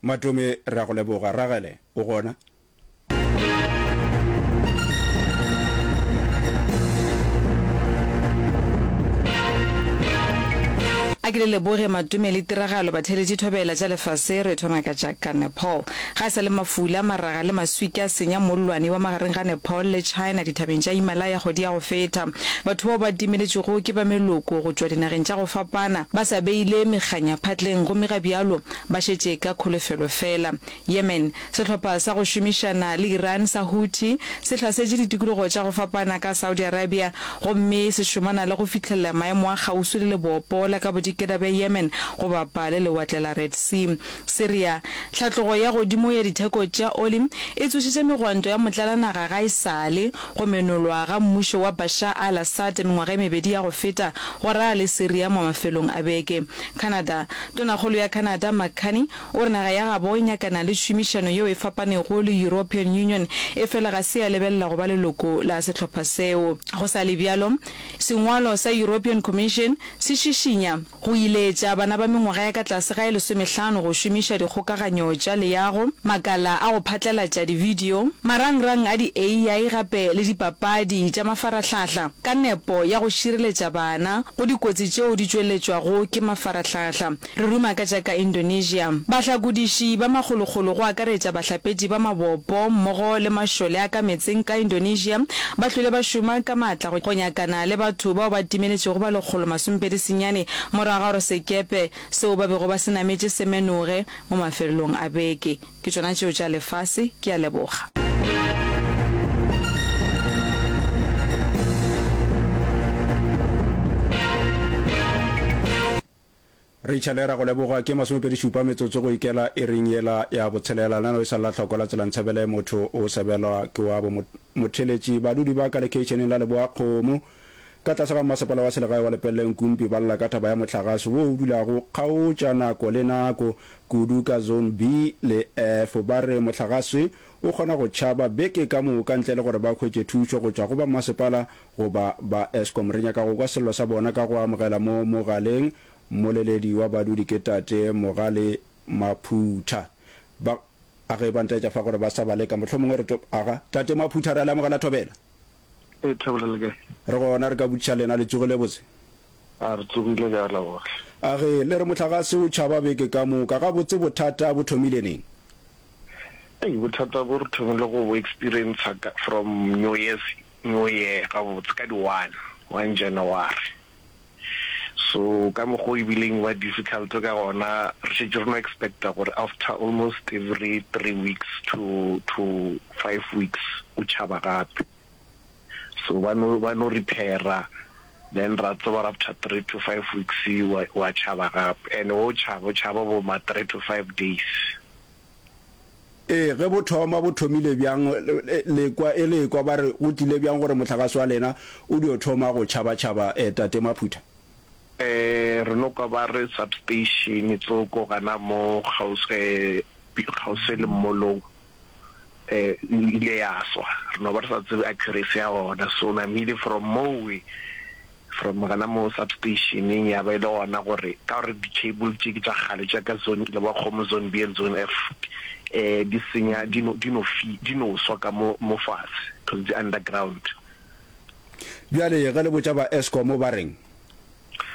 Matome, re a go leboga. Ragele, o gona? A ke le leboge Matome le tiragalo batheeletši thobela tša lefase re thoma ka tša ka Nepal. Ga e sa le mafula, maraga le maswika a senya mollwane wa magareng ga Nepal le China dithabeng tša Himalaya kgwedi ya go feta. Batho bao ba timeletšwego ke ba meloko go tšwa dinageng tša go fapana ba sa beile mekganya phatleng gomme ga bjalo ba šetše ka kholofelo fela. Yemen, Sehlopha sa go šomišana le Iran sa Houthi se hlasetše ditikologo tša go fapana ka Saudi Arabia gomme se šomana le go fihlelela maemo a kgauswi le lebopo la ka bodikela bja Yemen go bapa le lewatle la Red Sea. Syria, Tlhatlogo ya godimo ya ditheko tša oli e tsošitše megwanto ya motlalanaga ga e sa le go menolwa ga mmušo wa Bashar al-Assad mengwaga e mebedi ya go feta go ralala le Syria mo mafelong a beke. Canada, Tonakgolo ya Canada Mark Carney O re naga ya gabo e nyakana le tšhomišano yeo e fapanego le European Union, efela ga se ya lebelela go ba leloko la sehlopha seo. Go sa le bjalo, sengwalo sa European Commission se šišinya go iletša bana ba mengwaga ya ka tlase ga e lesomehlano go šomiša dikgokaganyo tša leago, makala a go phatlalatša divideo, marangrang a di-AI gape le dipapadi tša mafarahlahla ka nepo ya go šireletša bana go dikotsi tšeo di tšweletšwago ke mafarahlahla. Re ruma ka tša ka Indonesia. Bahlakodiši ba makgolokgolo go akaretša bahlapetši ba mabopo mmogo le mašole a ka meetseng ka Indonesia ba hlwele ba šoma ka maatla go nyakana le batho bao ba timeletšego ba 129 morago ga gore sekepe seo ba bego ba se nametše se menoge mo mafelelong a beke. Ke tšona tšeo tša lefase. Ke a leboga. Rachel ra go leboga ke masomepedi-šupa metsotso go ikela iring yela ya botshelela. Lenaneo e sa lla hloko la tsela Ntshebele motho o sebelwa ke wa bo motheletši. Badudi ba ka lekeišeneng la Leboa-Kgomo ka tlase ga mmasepala wa selegae wa Lepelle Nkumpi ba lla ka taba ya mohlagase wo o dulago kgaotša nako le nako kudu ka Zone B le F. Ba re mohlagase o kgona go tšhaba beke ka moka ntle le gore ba hwetše thušo go tšwa go ba mmasepala goba ba Eskom. Re nyaka go kwa sello sa bona ka go amogela mo mogaleng mmoleledi wa badudi ke Tate Mogale Maphutha. Ba, a ge ba ntaetša fa gore ba sa ba leka, mohlomongwe re to, aga, Tate Maphutha re a le amogela Thobela. Ee, Thobela le kae? Re gona, re ka botšiša lena, le tsogile botse? A re tsogile ka leboga. A ge, le re mohlagase o tšhaba beke ka moka, gabotse bothata bo thomile neng? Ei, bothata bo re thomile go bo experiencer ka, from New Year's New Year gabotse ka di one, one January. So ka mokgwa o e bileng ba difficult ka gona, re šetše re no expecta gore after almost every three weeks to to five weeks o tšhaba gape. So ba no ba no repaira then ra tseba gore after three to five weeks wa wa tšhaba gape. And o tšhaba o tšhaba bo ma three to five days. Ee, ge bo thoma, bo thomile bjang? Le kwa, e le kwa ba re go tlile bjang gore mohlagase wa lena o dio thoma go tšhaba-tšhaba, eh, Tate Maphutha? Eh, re no kwa ba re substation tsoko gana mo kgauswi, eh, kgauswi le mmolong, eh, e ile ya swa. Re no ba re sa tsebe accuracy ya gona. So namile from mowe, From gona mo substationeng ya ba e le gona gore ka gore di-cable tše ke tša kgale tša ka zone Lebakgomo zone B and zone F eh di senya di no di no fi di no swa ka mo mo fase because di underground. Bjale ge le botša ba Eskom ba reng?